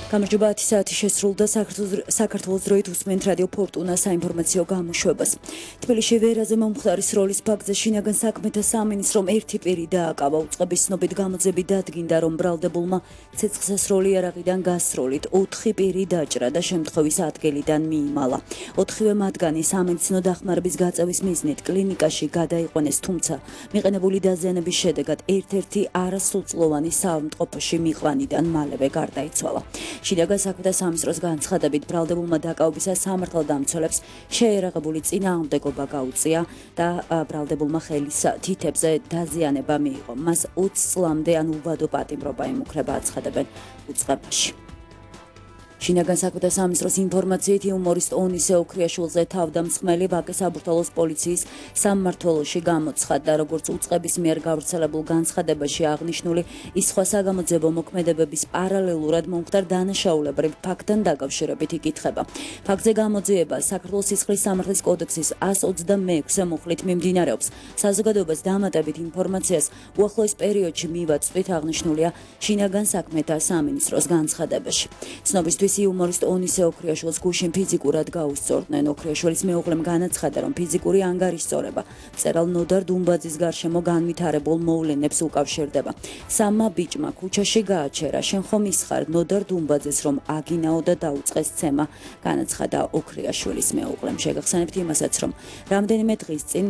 გამარჯობა 10 საათი შესრულდა საქართველოს დროით უსმენთ რადიო ფორტუნა საინფორმაციო გამოშვებას. თბილისში ვერაზე მომხდარის როლის ფაქტზე შინაგან საქმეთა სამინისტრომ ერთი პირი დააკავა. უწყების ცნობით გამოძები დადგინდა, რომ ბრალდებულმა ცეცხლსასროლი იარაღიდან გასროლით 4 პირი დაჭრა და შემთხვევის ადგილიდან მიიმალა. 4-ვე მათგანი სამედიცინო დახმარების გაწევის მიზნით კლინიკაში გადაიყვანეს, თუმცა მიყენებული დაზიანების შედეგად ერთ-ერთი არასრულწლოვანი საავადმყოფოში მიყვანიდან მალევე გარდაიცვალა. შინაგან საქმეთა სამინისტროს განცხადებით, ბრალდებულმა დაკავებისას სამართალდამცველებს შეერაღებული წინააღმდეგობა გაუწია და ბრალდებულმა ხელის თითებზე დაზიანება მიიღო. მას 20 წლამდე ან უბადო პატიმრობა ემუქრება, აცხადებენ უწყებაში. შინაგან საქმეთა სამინისტროს ინფორმაციით იუმორისტ ონისე ოქრიაშვილზე თავდამსხმელი ვაკე საბურთალოს პოლიციის სამმართველოში გამოცხადდა, როგორც უწყების მიერ გავრცელებულ განცხადებაში აღნიშნული, ის სხვა საგამოძიებო მოქმედებების პარალელურად მომხდარ დანაშაულებრივ ფაქტთან დაკავშირებით იკითხება. ფაქტზე გამოძიება საქართველოს სისხლის სამართლის კოდექსის 126-ე მუხლით მიმდინარეობს. საზოგადოებას დამატებით ინფორმაციას უახლოეს პერიოდში მივაწვდით, აღნიშნულია შინაგან საქმეთა სამინისტროს განცხადებაში. ცნობისთვის იუმორისტ ონისე ოქრიაშვილს გუშინ ფიზიკურად გაუსწორდნენ. ოქრიაშვილის მეუღლემ განაცხადა, რომ ფიზიკური ანგარიშწორება მწერალ ნოდარ დუმბაძის გარშემო განვითარებულ მოვლენებს უკავშირდება. სამმა ბიჭმა ქუჩაში გააჩერა, შენ ხომ ისხარ ნოდარ დუმბაძეს, რომ აგინაო და დაუწყეს ცემა, განაცხადა ოქრიაშვილის მეუღლემ. შეგახსენებთ იმასაც, რომ რამდენიმე დღის წინ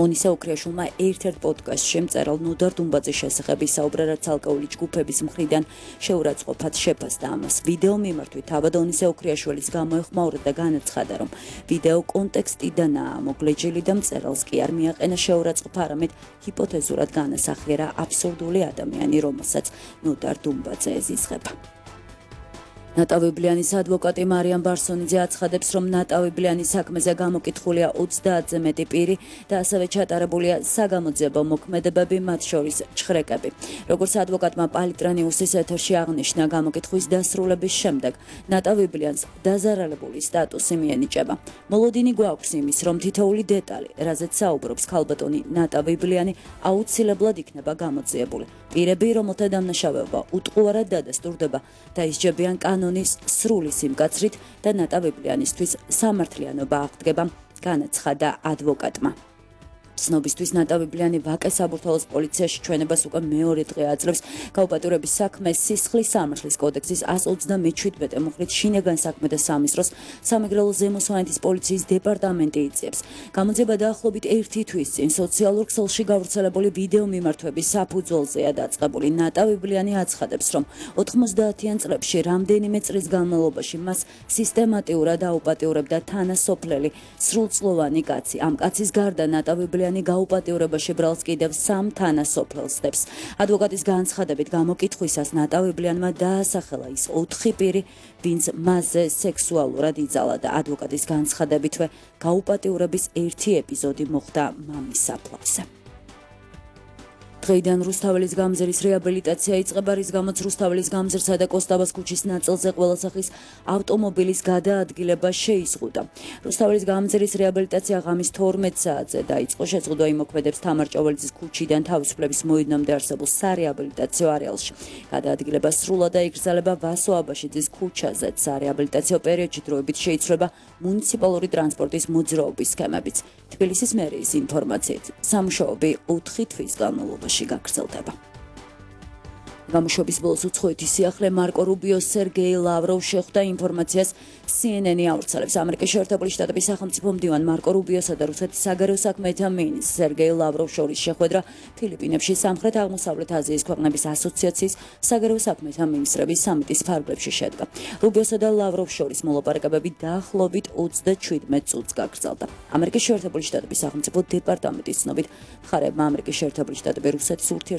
ონისე ოქრიაშვილმა ერთ-ერთ პოდკასტში მწერალ ნოდარ დუმბაძის შესახებ ისაუბრა, რაც ალკოჰოლის ჯგუფების მხრიდან შეურაცხყოფად შეფასდა ამას. ვიდეო მიმართვით თავად ონისე ოქრიაშვილის გამოეხმაურა და განაცხადა, რომ ვიდეო კონტექსტიდანაა მოგლეჯილი და მწერალს კი არ მიაყენა შეურაცხყოფა, არამედ ჰიპოთეზურად განასახიერა აბსურდული ადამიანი, რომელსაც ნოდარ დუმბაძე ეზიზღება. ნატავიბლიანის ადვოკატი მარიამ ბარსონიძე აცხადებს, რომ ნატავიბლიანის საქმეზე გამოკითხულია 30-ზე მეტი პირი და ასევე ჩატარებულია საგამოძიებო მოქმედებები, მათ შორის ჩხრეკები. როგორც ადვოკატმა პალიტრანიუსის ეთერში აღნიშნა, გამოკითხვის დასრულების შემდეგ ნატავიბლიანს დაზარალებული სტატუსი მიენიჭება. მოლოდინი გვაქვს იმის, რომ თითოეული დეტალი, რაზეც საუბრობს ქალბატონი ნატავიბლიანი, აუცილებლად იქნება გამოძიებული. პირები, რომელთა დამნაშავეობა უტყუარად დადასტურდება, დაისჯებიან კანონის სრული სიმკაცრით და ნატავიბლიანისთვის სამართლიანობა აღდგება, განაცხადა ადვოკატმა. ცნობისთვის ნატავიბლიანი ვაკე საბურთალოს პოლიციაში ჩვენებას უკვე მეორე დღე აძლევს. გაუპატიურების საქმეს სისხლის სამართლის კოდექსის 127 მუხლით შინაგან საქმეთა სამინისტროს სამეგრელო ზემო სვანეთის პოლიციის დეპარტამენტი იძიებს. გამოძიება დაახლოებით 1 თვის წინ სოციალურ ქსელში გავრცელებული ვიდეო მიმართვების საფუძველზეა დაწყებული. ნატავიბლიანი აცხადებს, რომ 90-იან წლებში რამდენიმე წლის განმავლობაში მას სისტემატიურად აუპატიურებდა თანასოფლელი სრულწლოვანი კაცი. ამ კაცის გარდა ნატავიბლიანი გაუპატიურებაში ბრალს კიდევ 3 თანასოფლელს დებს. ადვოკატის განცხადებით გამოკითხვისას ნატავიბლიანმა დაასახელა ის 4 პირი, ვინც მასზე სექსუალურად იძალა და ადვოკატის განცხადებითვე გაუპატიურების ერთი ეპიზოდი მოხდა მამის საფლავზე. დღეიდან რუსთაველის გამზირის რეაბილიტაცია იწყება, რის გამოც რუსთაველის გამზირსა და კოსტაბას ქუჩის ნაწილზე ყველა სახის ავტომობილის გადაადგილება შეიზღუდა. რუსთაველის გამზირის რეაბილიტაცია ღამის 12 საათზე დაიწყო. შეზღუდვა იმოქმედებს თამარ ჭაველიძის ქუჩიდან თავისუფლების მოედნამდე არსებულ სარეაბილიტაციო არეალში. გადაადგილება სრულად იგრძელება ვასო აბაშიძის ქუჩაზეც. სარეაბილიტაციო პერიოდში დროებით შეიცვლება მუნიციპალური ტრანსპორტის მოძრაობის სქემებიც. თბილისის მერიის ინფორმაციით, სამუშაოები 4 თვის განმავლობაში გაგრძელდება. გამოშვების ბოლოს უცხოეთის სიახლე მარკო რუბიოს სერგეი ლავროვს შეხვდა ინფორმაციას CNN-ი ავრცელებს. ამერიკის შეერთებული შტატების სახელმწიფო მდივან მარკო რუბიოსა და რუსეთის საგარეო საქმეთა მინისტრ სერგეი ლავროვს შორის შეხვედრა ფილიპინებში სამხრეთ-აღმოსავლეთ აზიის ქვეყნების ასოციაციის საგარეო საქმეთა მინისტრების სამიტის ფარგლებში შედგა. რუბიოსა და ლავროვს შორის მოლაპარაკებები დაახლოებით 27 წუთს გაგრძელდა. ამერიკის შეერთებული შტატების სახელმწიფო დეპარტამენტის ცნობით, მხარეებმა ამერიკის შეერთებული შტატები რუსეთის